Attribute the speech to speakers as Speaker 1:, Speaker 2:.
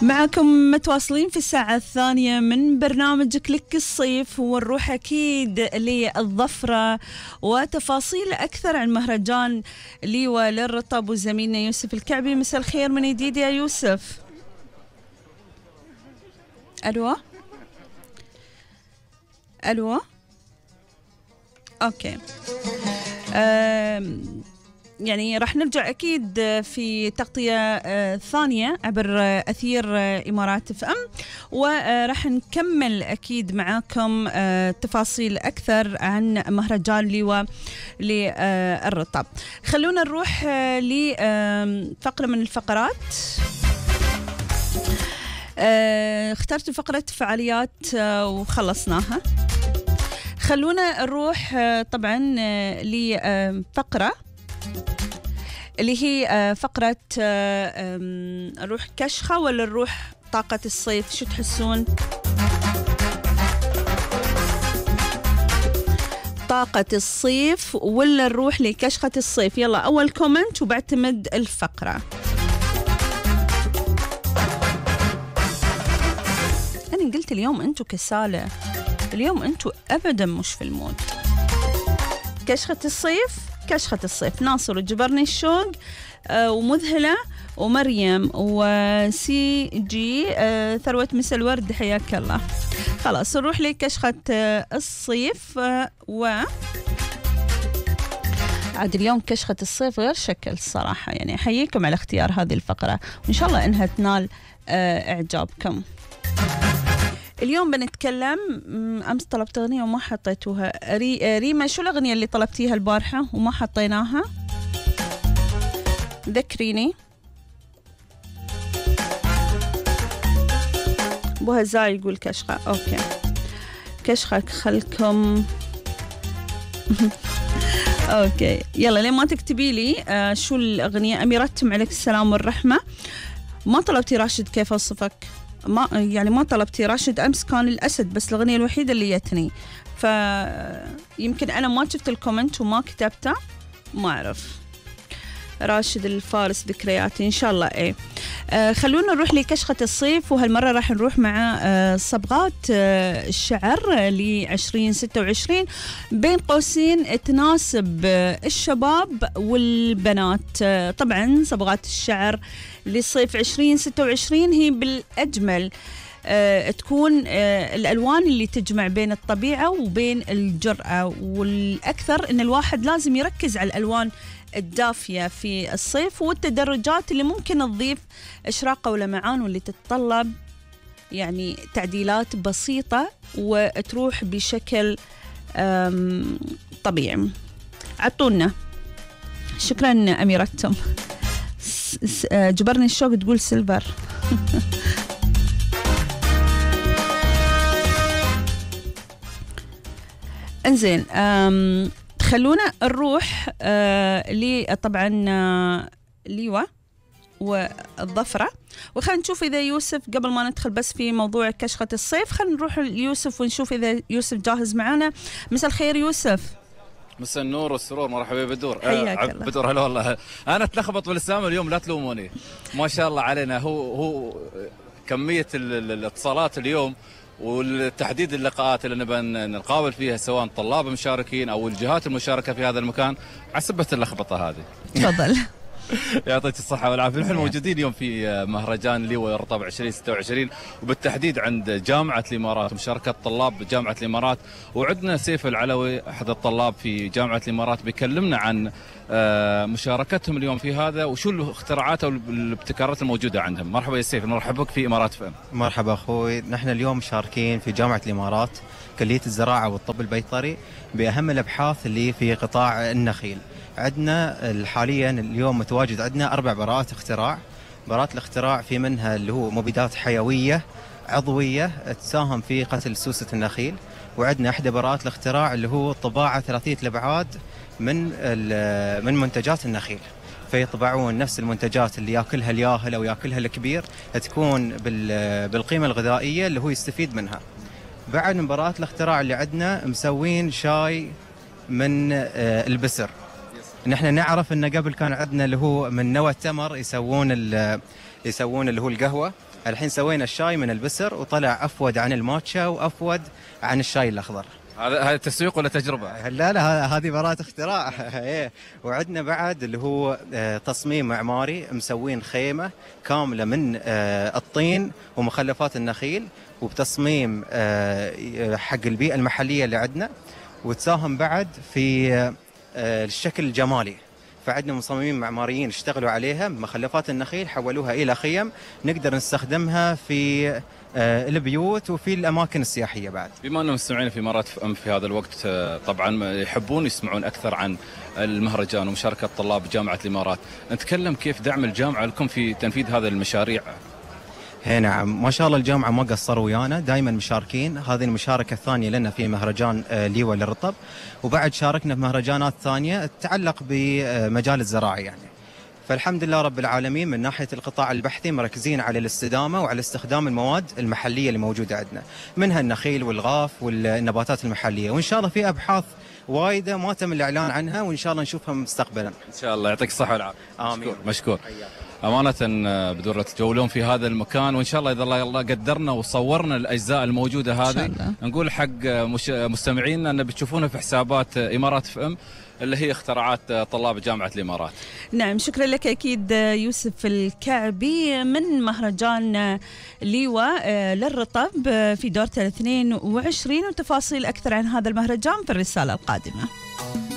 Speaker 1: معكم متواصلين في الساعة الثانية من برنامج كليك الصيف، ونروح أكيد للظفرة وتفاصيل أكثر عن مهرجان ليوة للرطب وزميلنا يوسف الكعبي. مساء الخير من جديد يا يوسف. ألو ألو أوكي. يعني راح نرجع أكيد في تغطية ثانية عبر أثير إمارات اف ام، وراح نكمل أكيد معاكم تفاصيل أكثر عن مهرجان ليوة للرطب. خلونا نروح لفقرة من الفقرات. اخترت فقرة فعاليات وخلصناها. خلونا نروح طبعا لفقرة اللي هي فقرة نروح كشخة ولا نروح طاقة الصيف؟ شو تحسون؟ طاقة الصيف ولا نروح لكشخة الصيف؟ يلا أول كومنت وبعتمد الفقرة. أنا قلت اليوم أنتو كسالة، اليوم أنتو أبدا مش في المود. كشخة الصيف، كشخة الصيف ناصر وجبرني الشوق ومذهلة ومريم وسي جي ثروة مسا الورد، حياك الله. خلاص نروح لكشخة الصيف عاد اليوم كشخة الصيف غير شكل الصراحة، يعني أحييكم على اختيار هذه الفقرة وإن شاء الله إنها تنال إعجابكم. اليوم بنتكلم، أمس طلبت أغنية وما حطيتوها. ريما شو الأغنية اللي طلبتيها البارحة وما حطيناها؟ ذكريني. بوها زاي يقول كشخة. أوكي كشخة خلكم. أوكي يلا لين ما تكتبي لي شو الأغنية. أميرتم عليك السلام والرحمة. ما طلبتي راشد كيف أوصفك؟ ما طلبتي راشد. أمس كان الأسد بس الأغنية الوحيدة اللي جتني، فيمكن أنا ما شفت الكومنت وما كتبته، ما أعرف. راشد الفارس ذكرياتي إن شاء الله. إيه خلونا نروح لكشخة الصيف، وهالمرة راح نروح مع صبغات الشعر ل2026 بين قوسين تناسب الشباب والبنات. طبعا صبغات الشعر للصيف 2026 هي بالأجمل تكون الألوان اللي تجمع بين الطبيعة وبين الجرأة، والأكثر إن الواحد لازم يركز على الألوان الدافية في الصيف والتدرجات اللي ممكن تضيف إشراقة ولمعان، واللي تتطلب يعني تعديلات بسيطة وتروح بشكل طبيعي. عطونا. شكرا أميرتم. جبرني الشوق تقول سيلفر. انزين خلونا نروح طبعا ليوة والظفرة، وخلينا نشوف إذا يوسف قبل ما ندخل بس في موضوع كشخة الصيف، خلينا نروح ليوسف ونشوف إذا يوسف جاهز معنا. مساء الخير يوسف.
Speaker 2: مساء النور والسرور، مرحبا بدور.
Speaker 1: حياك الله.
Speaker 2: بدور هلا والله. انا اتلخبط بالاسامي اليوم، لا تلوموني. ما شاء الله علينا. هو كميه الاتصالات اليوم والتحديد اللقاءات اللي نبى نقابل فيها سواء طلاب مشاركين او الجهات المشاركه في هذا المكان عسبت اللخبطه هذه.
Speaker 1: تفضل.
Speaker 2: يعطيك الصحة والعافية. نحن موجودين اليوم في مهرجان ليوة الرطب 2026 وبالتحديد عند جامعة الإمارات ومشاركة طلاب جامعة الإمارات، وعندنا سيف العلوي أحد الطلاب في جامعة الإمارات بيكلمنا عن مشاركتهم اليوم في هذا وشو الاختراعات والابتكارات الموجودة عندهم. مرحبا يا سيف، نرحب بك في إمارات فهم.
Speaker 3: مرحبا أخوي. نحن اليوم مشاركين في جامعة الإمارات كلية الزراعة والطب البيطري بأهم الأبحاث اللي في قطاع النخيل. عندنا حاليا اليوم متواجد عندنا 4 براءات اختراع. براءات الاختراع في منها اللي هو مبيدات حيوية عضوية تساهم في قتل سوسة النخيل، وعندنا إحدى براءات الاختراع اللي هو طباعة ثلاثية الأبعاد من منتجات النخيل، فيطبعون نفس المنتجات اللي ياكلها الياهل أو ياكلها الكبير تكون بالقيمة الغذائية اللي هو يستفيد منها. بعد من براءات الاختراع اللي عندنا مسوين شاي من البسر. نحن نعرف ان قبل كان عندنا اللي هو من نوى التمر يسوون اللي هو القهوه، الحين سوينا الشاي من البسر وطلع أفود عن الماتشا وأفود عن الشاي الأخضر.
Speaker 2: هذا تسويق ولا تجربة؟
Speaker 3: لا هذه براءة اختراع. وعندنا بعد اللي هو تصميم معماري، مسوين خيمة كاملة من الطين ومخلفات النخيل، وبتصميم حق البيئة المحلية اللي عندنا، وتساهم بعد في الشكل الجمالي. فعندنا مصممين معماريين اشتغلوا عليها، مخلفات النخيل حولوها إلى خيم نقدر نستخدمها في البيوت وفي الأماكن السياحية بعد.
Speaker 2: بما أنهم مستمعين في إمارات FM في هذا الوقت طبعا يحبون يسمعون أكثر عن المهرجان ومشاركة طلاب جامعة الإمارات، نتكلم كيف دعم الجامعة لكم في تنفيذ هذه المشاريع.
Speaker 3: نعم، ما شاء الله الجامعة ما قصروا ويانا، دائما مشاركين. هذه المشاركة الثانية لنا في مهرجان ليوة للرطب، وبعد شاركنا في مهرجانات ثانية تتعلق بمجال الزراعة يعني. فالحمد لله رب العالمين من ناحية القطاع البحثي مركزين على الاستدامة وعلى استخدام المواد المحلية اللي موجودة عندنا، منها النخيل والغاف والنباتات المحلية، وإن شاء الله في أبحاث وايدة ما تم الإعلان عنها، وإن شاء الله نشوفها مستقبلا
Speaker 2: إن شاء الله. يعطيك الصحة والعافية.
Speaker 3: آمين.
Speaker 2: مشكور. أمانة بدورة تجولون في هذا المكان، وإن شاء الله إذا الله قدرنا وصورنا الأجزاء الموجودة هذه نقول حق مستمعينا أن بتشوفونها في حسابات إمارات FM اللي هي اختراعات طلاب جامعة الإمارات.
Speaker 1: نعم، شكرا لك أكيد يوسف الكعبي من مهرجان ليوة للرطب في دورة 22، وتفاصيل أكثر عن هذا المهرجان في الرسالة القادمة.